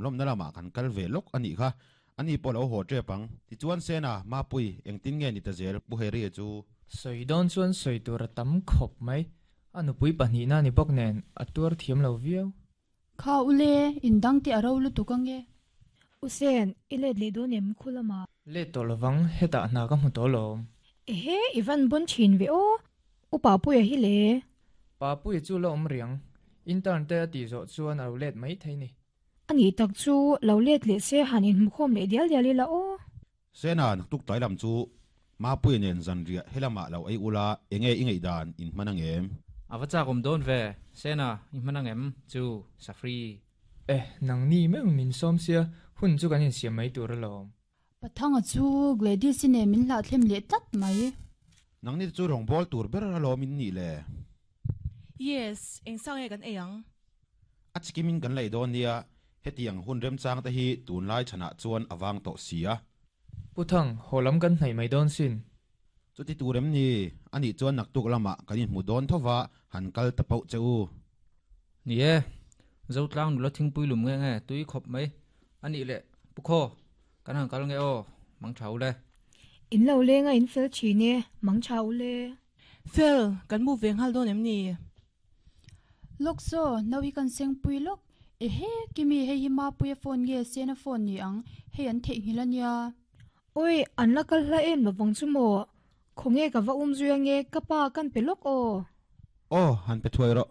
lawmna lamah kan kal ve lawk a nih kha. Ani pawh lo haw tep ang. Tichuan Sena, Mapui, engtin nge ni ta zel Pu Harry-a chu? Sawi dawn chuan sawi tur a tam khawp mai. A nupui pahnihna ni bawk nen a tuar thiam lo viau. Kha ule, in dang te a ro lutuk ange. U Sen, i let leh dawn em khu lamah? Let tawh lovang, hetah hna ka hmu tawh lawm. Ehe, i van bawn thin ve aw. U Papuia hi le. Papuia chu la awm riang. Intern te a tih zawh chuan a lo let mai thei ni. A nih tak chu, lo let leh se han inhmukhawm leh dial dial ila aw. Sena, naktuk tlai lam chu Mapuia nen zanriah helamah lo ei ula, enge i ngaihdan in hman ang em? A va chak awm dawn ve, Sena, i hman ang em? Chu, Safri. Eh, nangni meuh min sawm sia, hun chu kan insiam mai tur alawm. Pathanga chu Gladys-i nen min hlahthlem leh tlat mai. Nangni te chu rawngbâwl tur ber alawm in nih le? Yes, eng sang nge kan ei ang? A chikimin kan lei dawn nia, hetiang hun remchang te hi tunlai chhanah chuan a vang tawh si a. Pu Thang, haw lam kan hnaih mai dawn sin. Chuti tur em ni? Anih chuan naktuk lamah kan inhmu dawn tho va, han kal ta pauh che u. Ni e, Zotlang nula thingpui lum nge nge tui khawp mai. Anih leh, Pu Khaw, kan han kal nge aw, mang tha u le. In lo leng a in fel thin e, mang tha u le. Fel, kan move ve nghal dawn em ni? Lawk saw, no hi kan sengpui lawk. Ehe, Kimi, hei hi Mapuia phone nge Sena phone ni ang, hei an theihnghilh a nia. Awi, an la kal hla em lovang chu maw? Khawnge ka va um zui ange, ka pa kan pe lawk aw. Aw, han pe thuai rawh.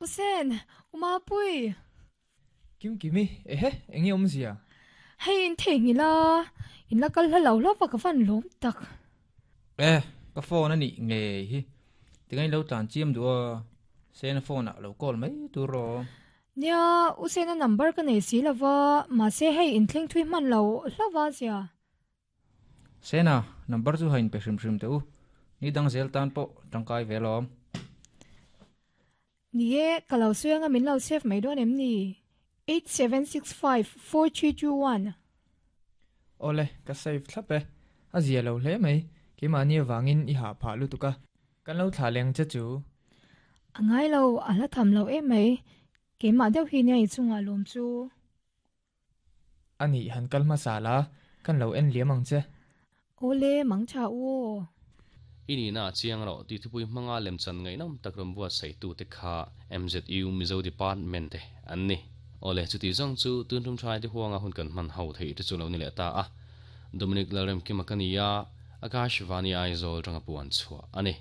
U Sen, U Mapui! Kim Kimi, ehe, enge awmzia? Hei in theihnghilh a, in la kal hla lo hlauh va ka van lawm tak. Eh, ka phone a nih ngei hi. Tinga in lo tlan chiam duh a, Sena phone ah lo call mai tur rawh. Nia, U Sena number ka nei si lova, mahse hei in thleng thui hman lo hlauh a zia. Sena, number chu ha in pe hrim hrim teh u. Ni dang zel tan pawh tangkai ve alawm. Ni e, ka lo sawi anga min lo save mai dawn em ni? 87654321. Awle, ka save thlap e. A zia lo hle mai, keimahni avangin i hah phah lutuk a, kan lo thlah leng che chu. A ngai lo, a hla tham lo em mai, keimah deuh hi nia i chungah lawm chu. A nih han kal hmasa la, kan lo en liam ang che. Awle, mang tha u aw. I nihna a chiang rawh tih thupui hmanga lemchan ngaihnawm tak rawn buatsaih-tute kha MZU Mizo Department te an ni. Awle, chuti zawng chu tun tum thaite huanga hun kan hman ho theih te chu lo ni leh ta a. Dominic Lalremkima ka ni a, Akashvani Aizawl tanga puan chhuah a ni.